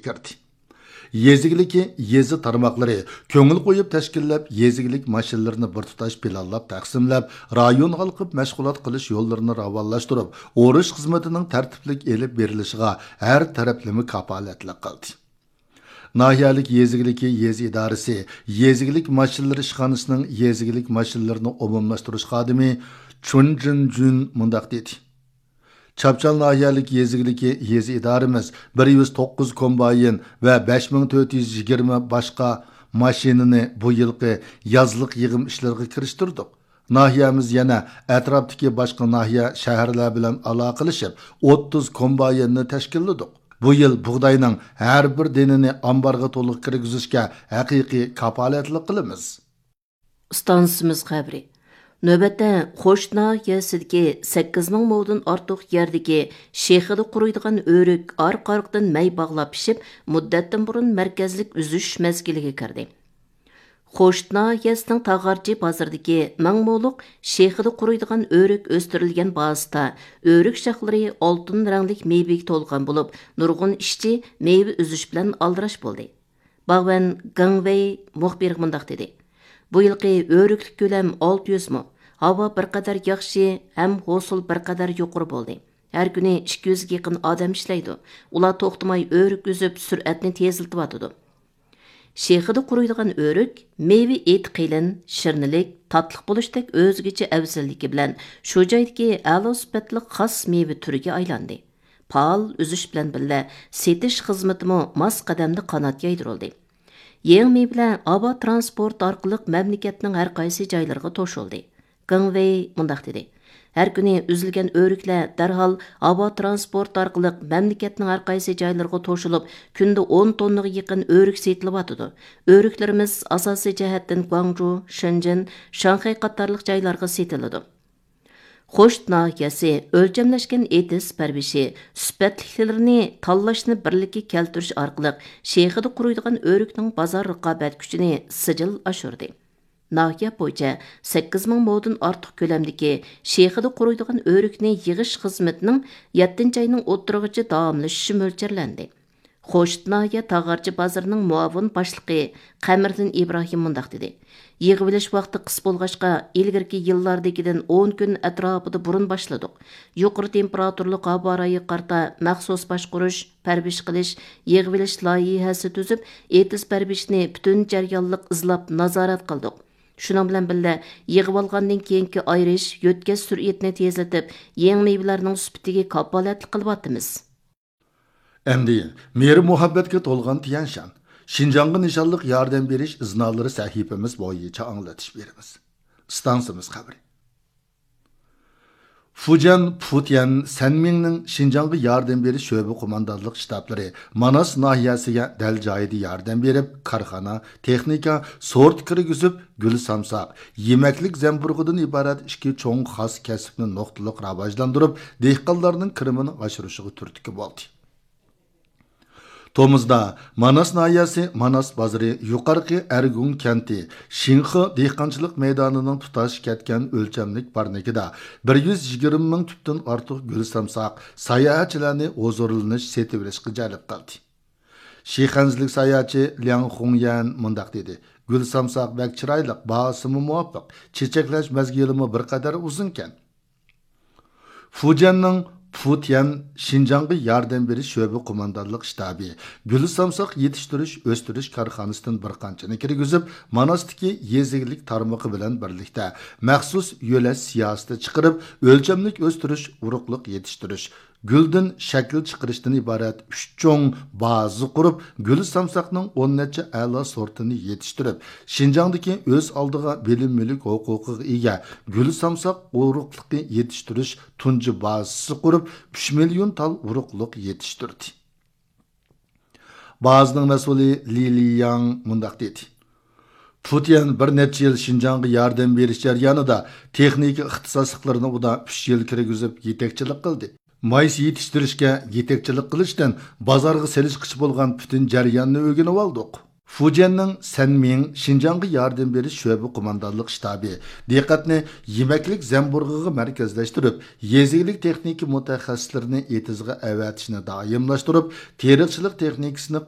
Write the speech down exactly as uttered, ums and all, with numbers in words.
كىردى. يېزا ئىگىلىكى يېزا تارماقلىرى كۆڭۈل قويۇپ تەشكىللەپ، يېزا ئىگىلىك ماشىنىلىرىنى بىر تۇتاش پىلانلاپ تەقسىملەپ، رايونغا ھالقىپ مەشغۇلات قىلىش يوللىرىنى راۋانلاشتۇرۇپ، ئۇرۇش خىزمىتىنىڭ تەرتىپلىك ئېلىپ بېرىلىشىغا ھەر تەرەپلىمە كاپالەتلىك قىلدى. ناھىيەلىك يېزا ئىگىلىكى يېزا ئىدارىسى، يېزا ئىگىلىك ماشىنىلىرى ئىشخانىسىنىڭ يېزا ئىگىلىك ماشىنىلىرىنى ئومۇملاشتۇرۇش خادىمى چۇن جىن جۈن مۇنداق دېدى. چاپچال ناھىيەلىك يېزا ئىگىلىكى يېزا ئىدارىمىز بىر يۈز توققۇز كومباين ۋە بەش مىڭ تۆت يۈز يىگىرمە باشقا ماشىنىنى بۇ يىلقى يازلىق يىغىم ئىشلىرىغا كىرىشتۈردۇق. ناھىيەمىز يەنە ئەتراپتىكى باشقا ناھىيە، شەھەرلەر بىلەن ئالاقىلىشىپ، ئوتتۇز كومبايننى تەشكىللىدۇق. بۇ يىل بۇغداينىڭ ھەر بىر دېنىنى ئامبارغا تولۇق كىرگۈزۈشكە ھەقىقىي كاپالەتلىك قىلىمىز. ئىستانسىمىز خەۋىرى. نۆۋەتتە، خوش ناھىيەسىدىكى سەككىز مىڭ مودىن ئارتۇق يەردىكى شېخىدا قۇرۇيدىغان ئۆرۈك ئارقا-ئارقىدىن مەي باغلاپ پىشىپ، مۇددەتتىن بۇرۇن مەركەزلىك ئۈزۈش مەزگىلىگە كىردى. خوش ناھىيەسىنىڭ تاغارچى بازىرىدىكى مىڭ مولۇق شېخىدا قۇرۇيدىغان ئۆرۈك ئۆستۈرۈلگەن بازىسىدا ئۆرۈك شاخلىرى ئالتۇن رەڭلىك مېۋىگە تولغان بولۇپ، نۇرغۇن ئىشچى مېۋە ئۈزۈش بىلەن ئالدىراش بولدى. باغۋەن گېڭ ۋېي مۇخبىرغا مۇنداق دېدى: بۇ يىلقى ئۆرۈكلۈك كۆلەم ئالتە يۈز مو. ھاۋا بىر قەدەر ياخشى ھەم ھوسۇل بىر قەدەر يۇقىرى بولدى. ھەر كۈنى ئىككى يۈزگە يېقىن ئادەم ئىشلەيدۇ. ئۇلار توختىماي ئۆرۈك ئۈزۈپ، سۈرئەتنى تېزلىتىۋاتىدۇ. شېخىدا قۇرۇيدىغان ئۆرۈك مېۋە ئېتى قېلىن، شىرنىلىك، تاتلىق بولۇشتەك ئۆزگىچە ئەۋزەللىكى بىلەن شۇ جايدىكى ئەلا سۈپەتلىك خاس مېۋە تۈرىگە ئايلاندى. پائال ئۈزۈش بىلەن بىللە، سېتىش خىزمىتىمۇ ماس قەدەمدە قانات يايدۇرۇلدى. يېڭى مېۋىلەر ھاۋا ترانسپورتى ئارقىلىق مەملىكەتنىڭ ھەر قايسى جايلىرىغا توشۇلدى. گېڭ ۋېي مۇنداق دېدى: ھەر كۈنى ئۈزۈلگەن ئۆرۈكلەر دەرھال ھاۋا ترانسپورتى ئارقىلىق مەملىكەتنىڭ ھەر قايسى جايلىرىغا توشۇلۇپ، كۈندە ئون توننىغا يېقىن ئۆرۈك سېتىلىۋاتىدۇ. ئۆرۈكلىرىمىز ئاساسىي جەھەتتىن گۇاڭجۇ، شېنجېن، شاڭخەي قاتارلىق جايلارغا سېتىلىدۇ. خوش ناھىيەسى ئۆلچەملەشكەن ئېتىز پەرۋىشى، سۈپەتلىكلىرىنى تاللاشنى بىرلىككە كەلتۈرۈش ئارقىلىق شېخىدا قۇرۇيدىغان ئۆرۈكنىڭ بازار رىقابەت كۈچىنى سىجىل ئاشۇردى. ناھىيە بويىچە سەككىز مىڭ مودىن ئارتۇق كۆلەمدىكى شېخىدا قۇرۇيدىغان ئۆرۈكنى يىغىش خىزمىتىنىڭ يەتتىنچى ئاينىڭ ئوتتۇرىغىچە داۋاملىشىشى مۆلچەرلەندى. خوشۇت ناھىيە تاغارچى بازىرىنىڭ مۇئاۋىن باشلىقى قەمەردىن ئىبراھىم مۇنداق دېدى: يىغىۋېلىش ۋاقتى قىس بولغاچقا، ئىلگىرىكى يىللاردىكىدىن ئون كۈن ئەتراپىدا بۇرۇن باشلىدۇق. يۇقىرى تېمپېراتۇرىلىق ھاۋا رايىغا قارىتا مەخسۇس باشقۇرۇش، پەرۋىش قىلىش، يىغىۋېلىش لايىھەسى تۈزۈپ، ئېتىز پەرۋىشىنى پۈتۈن جەريانلىق ئىزلاپ نازارەت قىلدۇق. شۇنىڭ بىلەن بىللە، يىغىۋالغاندىن كېيىنكى ئايرىش، يۆتكەش سۈرئىتىنى تېزلىتىپ، يېڭى مېۋىلەرنىڭ سۈپىتىگە كاپالەتلىك قىلىۋاتىمىز. ئەمدى مېھرى-مۇھەببەتكە تولغان تيەنشان، شىنجاڭغا نىشانلىق ياردەم بېرىش ئىزنالىرى سەھىپىمىز بويىچە ئاڭلىتىش بېرىمىز. ئىستانسىمىز خەۋىرى. فۇجيەن، پۇتيەن، سەنمىڭنىڭ شىنجاڭغا ياردەم بېرىش شۆبە قوماندانلىق شتابلىرى ماناس ناھىيەسىگە دەل جايىدا ياردەم بېرىپ، كارخانا، تېخنىكا، سورت كىرگۈزۈپ، گۈل سامساق، يېمەكلىك زەمبۇرۇغىدىن ئىبارەت ئىككى چوڭ خاس كەسىپنى نۇقتىلىق راۋاجلاندۇرۇپ، دېھقانلارنىڭ كىرىمىنى ئاشۇرۇشىغا تۈرتكە بولدى. تومۇزدا ماناس ناھىيەسى ماناس بازىرى يۇقارقى ئەرگۇڭ كەنتى شىنخې دېھقانچىلىق مەيدانىنىڭ تۇتاش كەتكەن ئۆلچەملىك پارنىكىدا بىر يۈز يىگىرمە مىڭ تۈپتىن ئارتۇق گۈل سامساق ساياھەتچىلەرنى ھۇزۇرلىنىش، سېتىۋېلىشقا جەلپ قىلدى. شىخەنزىلىك ساياھەتچى لياڭ خۇڭيەن مۇنداق دېدى: گۈل سامساق بەك چىرايلىق، باھاسىمۇ مۇۋاپىق، چېچەكلەش مەزگىلىمۇ بىر قەدەر ئۇزۇنكەن. فۇجيەننىڭ پۇتيەن شىنجاڭغا ياردەم بېرىش شۆبە قوماندانلىق شتابى گۈل سامساق يېتىشتۈرۈش، ئۆستۈرۈش كارخانىسىدىن بىر قانچىنى كىرگۈزۈپ، ماناستىكى يېزا ئىگىلىك تارمىقى بىلەن بىرلىكتە مەخسۇس يۆلەش سىياسىتى چىقىرىپ، ئۆلچەملىك ئۆستۈرۈش، ئۇرۇقلۇق يېتىشتۈرۈش، گۈلدىن شەكىل چىقىرىشتىن ئىبارەت ئۈچ چوڭ بازا قۇرۇپ، گۈل سامساقنىڭ ئون نەچچە ئەلا سورتىنى يېتىشتۈرۈپ، شىنجاڭدىكى ئۆز ئالدىغا بىلىم مۈلۈك ھوقۇقىغا ئىگە گۈل سامساق ئۇرۇقلۇقى يېتىشتۈرۈش تۇنجى بازىسى قۇرۇپ، ئۈچ مىليون تال ئۇرۇقلۇق يېتىشتۈردى. بازىنىڭ مەسئۇلى لى لىياڭ مۇنداق دېدى: پۇتيەن بىر نەچچە يىل شىنجاڭغا ياردەم بېرىش جەريانىدا تېخنىكا ئىختىساسلىقلىرىنى ئۇدا ئۈچ يىل كىرگۈزۈپ يېتەكچىلىك قىلدى. مايسا يېتىشتۈرۈشكە يېتەكچىلىك قىلىشتىن بازارغا سېلىشقىچە بولغان پۈتۈن جەرياننى ئۆگىنىۋالدۇق. فۇجيەننىڭ سەنمىڭ شىنجاڭغا ياردەم بېرىش شۆبە قوماندانلىق شتابى دىققەتنى يېمەكلىك زەمبۇرۇغىغا مەركەزلەشتۈرۈپ، يېزا ئىگىلىك تېخنىكا مۇتەخەسسىسلىرىنى ئېتىزغا ئەۋەتىشنى دائىملاشتۇرۇپ، تېرىقچىلىق تېخنىكىسىنى